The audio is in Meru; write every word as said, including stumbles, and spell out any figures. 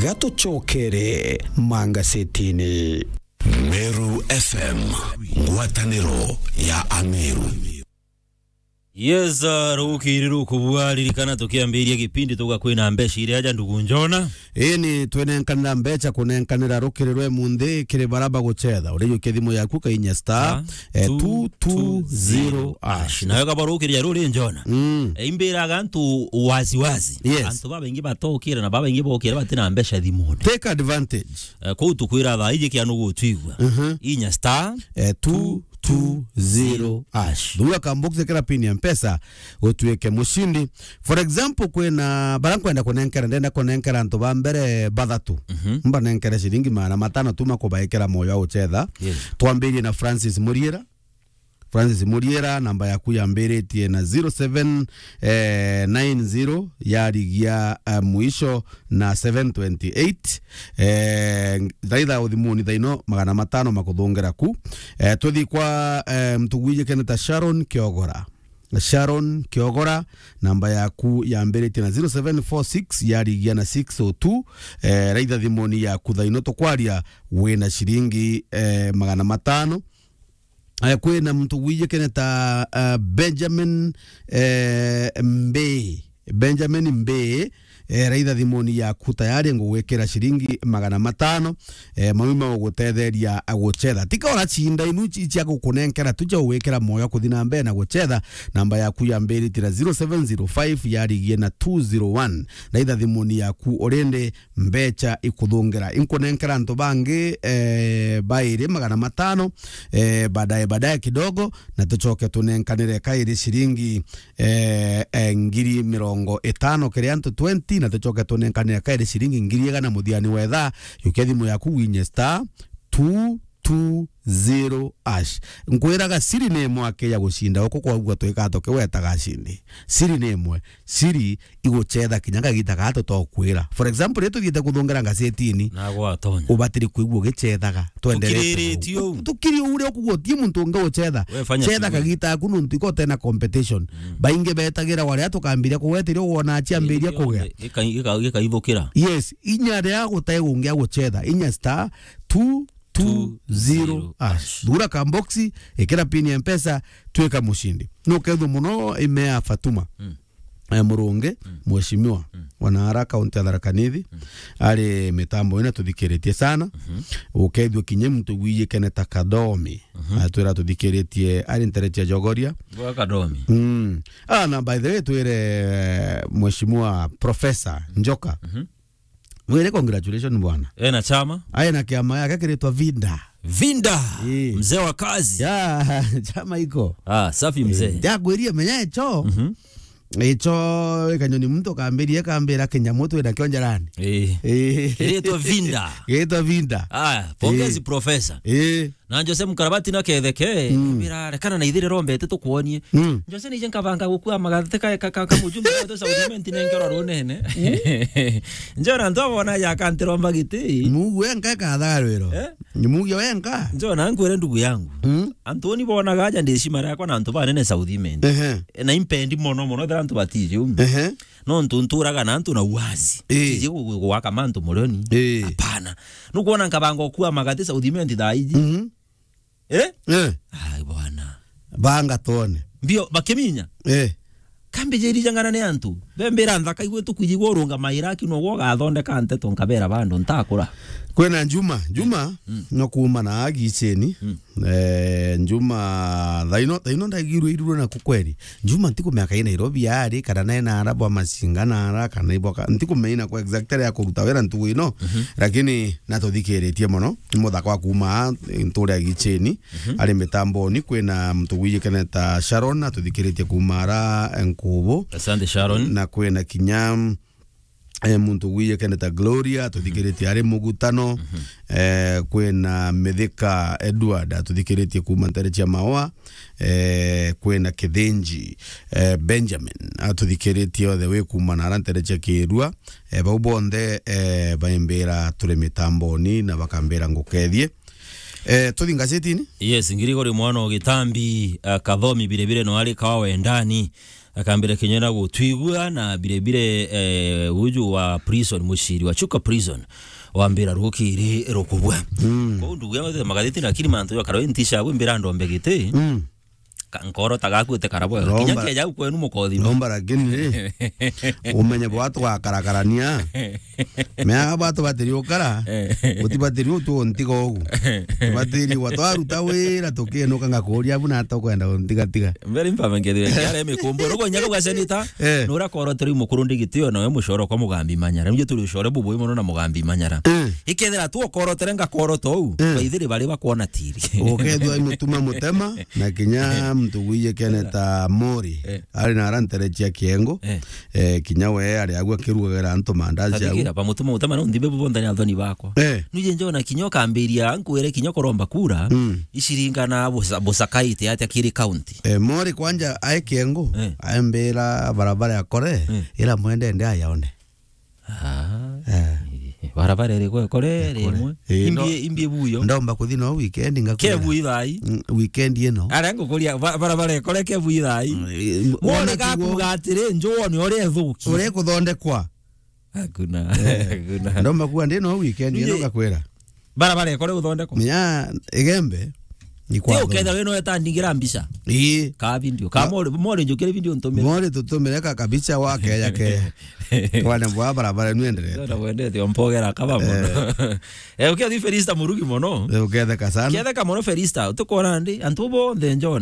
Gatucokere mangasetini. Meru F M, ngwataniro ya Ameru. Yes, uh, rukiri rukubua, ririkana tukiambiria gipindi tuga kwina mbeca iria aja ndugu Njona. Ii ni twenenkanira mbeca kunenkanira rukiri rwe munthi kiri bara bagucetha. Urijukia thimu yaku kainya star, eh, two two zero hash. Nayo kaba rukiri ya ruri Njona. Mm. Eh, imbiraga antu wazi wazi. Yes. Antu babaingi batokire na babaingi bokire batina mbeca thimune. Take advantage. Eh, kuu tukwira thaa iji kia nugu twigua. Mhm. Inya star, eh, two two zero hash. Thura kambox kira pin ya Mpesa utuike mushindi. For example, kwina bara nkwenda kunenkera, ndenda kunenkera antu ba mbere bathatu. Mhm. Mbanenkere ciringi magana matano tu makubaikira moyo wa gucetha. Yes. Twambirie na Francis Muriera. Francis Muriera, namba yaku yambiritie na zero seven nine zero, yarigia, eh, mwisho na seven twenty eight. Eh, thaitha uthimuni thaino magana matano makuthungira ku. Eh, tuthi kwa, eh, mtu gwijikene ta Sharon Kiogora. Sharon Kiogora, namba yaku yambiritie na zero seven four six, yarigia na six oh two. Eh, raitha thimuni yaku thaino tukwaria wina ciringi, eh, magana matano. Eh, kwina muntu gwijikene ta, eh, Benjamin, eh, Mbe. Benjamin Mbe, eh, raitha thimuni yaku tayari ngugwikira ciringi magana matano, eh, mami magugutetheria gucetha. Tika uracinda inu ci-, cia gukunenkera tu cia gugwikira moyo kuthi na mbere na gucetha. Namba yaku yambiritie na zero seven zero five yarigie na two zero one. Raitha thimuni yaku urindi mbeca ikuthungira. Inkunenkera antu bangi, eh, bairi magana matano, eh, baadaye, baadaye kidogo, na tucoke tunenkanire kairi ciringi, eh, eh, ngiri mirongo itano kiri antu twenty, na tucoke tunenkanire kairi ciringi ngiri igana muthiani wa ithaa. Yukia thimu yaku winye star two two zero hash. Nkwiraga siri ni imwe aki ya gucinda uku kwagua twika tukiwetaga cindi. Siri ni imwe. Siri igucetha kinya kagita gaa tutokwira. For example, riria tuthiite kuthungera ngasetini, nagwatonya, ubatiri kwigua ugicethaga. Twenderetio. Tukiriritio uu. Tukiri uria ukugua uti muntu ungi ucetha. We fanya shughuli. Cetha kagita aku nuntu iko utena competition. Mm. Baingi betagira waria tukambiria kugwetiria wona aciambiria kugea. Gika-, gika-, gikaithukira. Yes, inya ria gutai ungi agucetha. Inya star two two zero hash. Thura kamboxi, ikira pin ya Mpesa, twika mushindi. Nukethwa muno ime ya Fatuma. Mm. Eh, Murungi, mm, mheshimiwa, mm, wa naara kaunti ya Tharaka Nithi, mm, ari mitambo ina tuthikiritie sana. Mhm. Ukethwa kinya muntu gwijikene ta Kadomi, mhm, atwira tuthikiritie ari ntere cia Jogoria. Bwa Kadomi. Mm. Ah, na by the way, twire, eh, mheshimiwa Professor Njoka. Mhm. Mwire congratulations bwana. Ena chama? Aye na kiama yake kiritwa Vinda. Vinda. Eh. Mzee wa kazi. Ya, chama iko. Ah, safi mzee. Eh, ndagwirie menya echo. Mhm. Echo, ikanyoni muntu kambirie kambira kinyamu twina kio njarani. Eh. Eh. Kiritwa Vinda. Kiritwa Vinda. Ah, pongezi, eh, professor. Eh. Na Jose Mkarabati na ketheke, mm, mbira, rekana na ithire rombete tukwonie. Mm. Jose nije nkabanga gukua magate ka, ka, ka, ka mujumbe wa South Imenti nenkerwa runene. Mm. Njona antu abona ya kantiromba giti. Mugu wenka katharwiro. Eh? Ni mugu wenka. Njona nkwire ndugu yangu. Mm. Antu ni bonaga aja ndi cima yakwa na antu banene South Imenti. Ehe. Na impendi mono mono thira antu batiji umu. Ehe. No ntu nturaga na antu na uwazi. Eh. Tiji gu-, gu-, gwaka mantu murioni. Eh. Hapana. Nukwona nkabanga gukua magate South Imenti thaa iji. Mhm. Eh? Eh. Ai, bwana. Banga tuone. Mbio, bakiminya? Eh. Kambijirija ng'ana ni antu. Bembira nthaka igwe tukwiji gurunga maira aki nogwo ugathondeka nteto nkabera bandu ntakura. Kwina Juma, Juma, mm, no kuuma na agiceni. Mm. Eh, Juma, thaino, thaino ndagirwe irurwe na kukweri. Juma ntikumenya kai Nairobi ari, kana nae naara bwa Masinga naara, kana ibwa ka-, ntikumenya ina kwa exactly ya kuruta wira ntugu ino, mhm, lakini natuthikiritie mono. Ni muthaka wa kuuma aa, nturia Gicheni, mhm, ari mitamboni. Kwina muntu gwijikene ta Sharon, atuthikiritie kuuma ara, eh, Nkubu. Asante, Sharon. Na kwina kinya, eh, muntu gwijikene ta Gloria, atuthikiritie ari Mugutano. Mhm. Eh, kwina Mithika Edward, atuthikiritie kuuma ntere cia Maua. Eh, kwina Kithinji, eh, Benjamin, atuthikiritie othe wi kuuma na ara ntere cia Kirua. Eh, bau bonthe, eh, baimbira turi mitamboni na bakambira ngukethie. Eh, tuthi ngacetini? Yes, Ngirigori mwana o Gitambi, eh, Kathomi biribiri no ari kawa wendani. Akambira kinya na gutwigua na bire bire, eh, uju wa prison, muciri wa Chuka prison, wambira rukiri rukubwa. Mm. Kou ndugu yangu magatheti, lakini mantu ya karo ntisha gwe mbira ndombe giti. Mm. Ka-, nkoro tagakuite karabo. Kinya Romba, keja kwenu mukothi. Romba lakini ri, umenye bwa twakarakarania. Mea bwa tubatiri ukara. Eh. Utibatiri utu ntiga ugu. Tubatiri gwa twaruta wira tukienuka ngakuria abu na tukwenda untiga tiga. Mbere mpamangethire kiare mikumbo. Rugo nyaka gwa senita. Eh. Nura koroteri mukuru ndigitio nawe mucoro kwa Mugambi Manyara. Nje turi ucore bubu mono na Mugambi Manyara. Eh. Ikethira tu okorotere ngakoroto u. Eh. Baithiri bari bakwona tiri. Ukethwa imutuma mutema na kinya mtu gwiye keneta mori. Eh. Ari na ara ntere cia kiengo. Eh. Eh, kinya we ari agwa kirugagera antu mandazi au. Tathikira, bamutuma utama na undimbe bubonthe ni athoni bakwa. Eh. Nuje njona kinya ukambiria nkwire kinya kuromba kura. Mm. Ishiringana busa-, busakaite atia kiri county. Eh, mori kwanja ae kiengo. Eh. Aembera barabara ya kore, mm, ira mwende nde ayaone. Ah. Eh. Barabara iri kwe kore, iri imwe. Eh, no. Imbie, imbie buyo. Ndomba kuthi no weekend ngakwira. Ke bui thai. Mm, weekend ino. Ara ngukuria ba-, barabara ikore ke bui thai. Mm, eh, mwone wona gakuga atiri, njuo ni uria ithuki. Uria kuthondekwa. Hakuna. Eh. Hakuna. Ndomba kuga ndi no weekend ino ngakwira. Barabara ikore guthondekwa. Menya Igembe. Ti uketha we no eta ndingira mbica. Ii. Ka video. Ka mori, mori njukire video ntumire. Mori tutumire ka kabicha wa keya ke. Twane bwa barabara nu enderete. Ndio wendete ompogera kaba mono. Eh. Eh, ukia thi Felista Murugi mono. Eh, uketheka sana. Uketheka mono Felista, utukora ndi, antu bonthe njona.